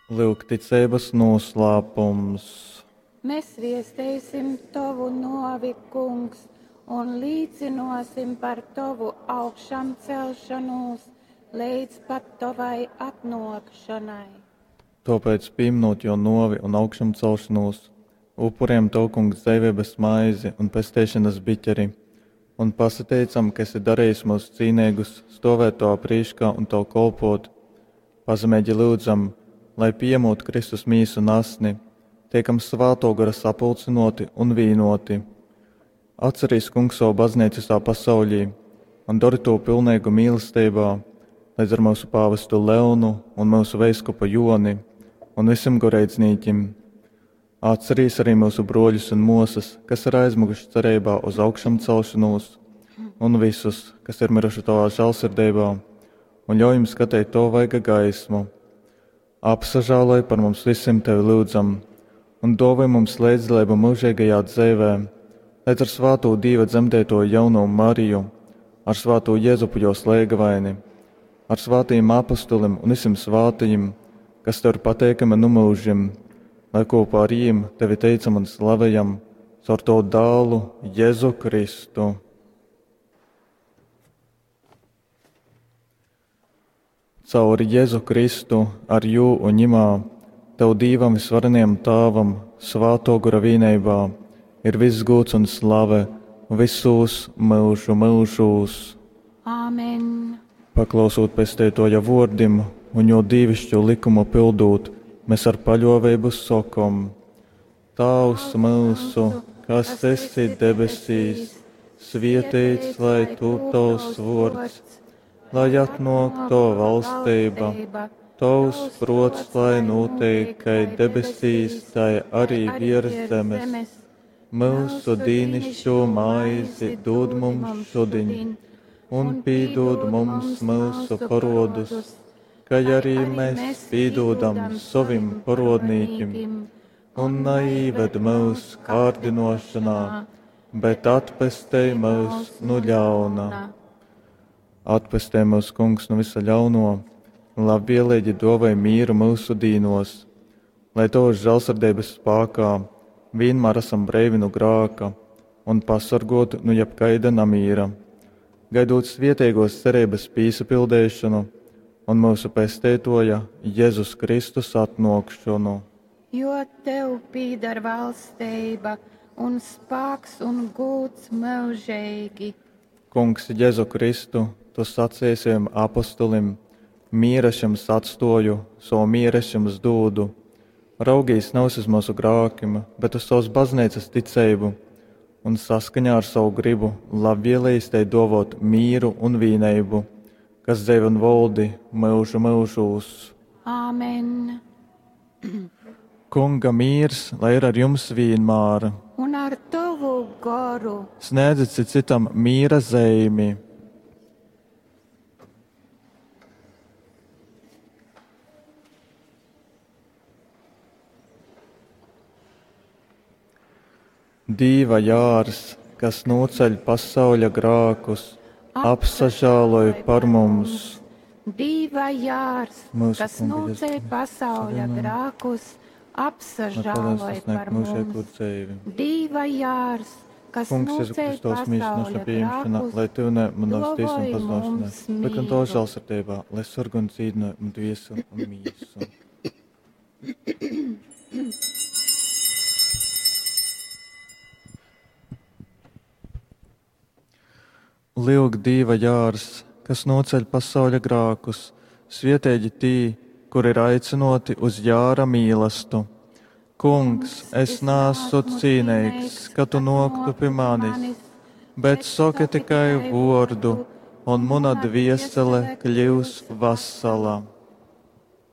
Lyuk ticeibas noslēpums. Mēs viesteisim Tovu novi, Kungs, un līcinosim par Tovu augšamcelšanos līdz pat Tovai atnākšanai. Tāpēc, pieminot jo novi un augšamcelšanos, upuriem Tev, Kungs, dzīvības maizi un pesteišanas biķeri, un pasateicam, ka esi darījis mūs cīnīgus, stovēt Tavā prīškā un Tev kolpot. Pazemīgi lūdzam, lai piemūt Kristus mīsu un asni, tiekam Svāto gara sapulcinoti un vīnoti. Atcerīs, Kungs, savu baznīcu visā pasaulī un dari to pilnīgu mīlestībā, līdz ar mūsu pāvestu Leonu un mūsu veiskupu Joni un visiem goreidznīķim. Atcerīs arī mūsu broļus un mosas, kas ir aizmuguši cerībā uz augšamcelšanos, un visus, kas ir miruši tavā žēlsirdībā, un ļauj jums skatīt to vaiga gaismu. Apsažāloj par mums visiem tevi lūdzam, un dāvāj mums līdzdalību mūžīgajā dzīvē, līdz ar svāto Dieva dzemdēto jauno Mariju, ar svāto Jēzupu jo slēgavaini, ar svātajiem apustulim un visiem svātajiem, kas tev ir pateikami nu mūžim, lai kopā ar jiem tevi teicam un slavējam caur tavu dālu Jēzu Kristu. Caur Jēzu Kristu, ar jū un ņimā, tev Dīvam visvarenajam Tāvam, svāto gura vīneibā, ir viss gūts un slave visos mūžu mūžūs. Āmen! Paklausot pestētoja vordim un jo dīvišķo likumu pildūt, mēs ar paļovību sokom: Tavs mūsu, kas esi debesīs, svietēts lai tu tavs vords, lai atnāk tava valstība, tavs prots, lai notiek, kai debesīs, tai arī virs zemes. Mūsu dīnišķo maizi dod mums šodien, un pīdod mums mūsu parodus, kai arī mēs pīdodam savim parodnīkim, un neīved mūs kārdinošanā, bet atpestej mūs no ļauna. Atpestē mūs, Kungs, no visa ļauno, un labvēlīgi dovai mīru mūsu dīnos, lai Tavas žēlsirdības spākā vienmēr esam breivi no grāka un pasargoti no jebkaida namīra, gaidot svietīgos cerības pīsapildēšanu un mūsu pestētoja Jēzus Kristus atnākšanu. Jo tev pīdar valstība un spāks un gūts mūžīgi. Kungs, Jēzu Kristu, tu sacīji saviem apostolim, mieru es jums atstoju, savu mieru es jums dūdu. Raugīs nav uz mūsu grākim, bet uz savas baznīcas ticību, un saskaņā ar savu gribu labvēlījis te dovot mīru un vīneibu, kas dzīvo un valdi mūžu mūžūs. Āmen! Kunga mīrs, lai ir ar jums vienmēr. Un ar tavu goru. Sniedziet citam mīra zīmi. Dīva jārs, kas noceļ pasauļa grākus, apsažāloj par mums. Dīva jārs, Mūsu kas Kunga noceļ Jēzus pasauļa Kristus, grākus, Lai apsažāloj sasniegt par mūžīgo mums. dzīvi. Dīva jārs, kas Kungs, Jēzu noceļ Kristus, mīļš pasauļa naša pieņemšana, grākus, lai tev ne manas tiesa un dovoj pazušanai, mums bet gan tavā mieru. žēlsirdībā, lai sarg un dzīvino un dvieseli un mīsu. Lūk, Dieva jārs, kas noceļ pasauļa grākus, svietēģi tī, kur ir aicinoti uz jāra mīlestu. Kungs, es nāsu cīnīgs, ka tu noktu pie manis, bet saki tikai vordu, un mana dviesele kļūs vasala.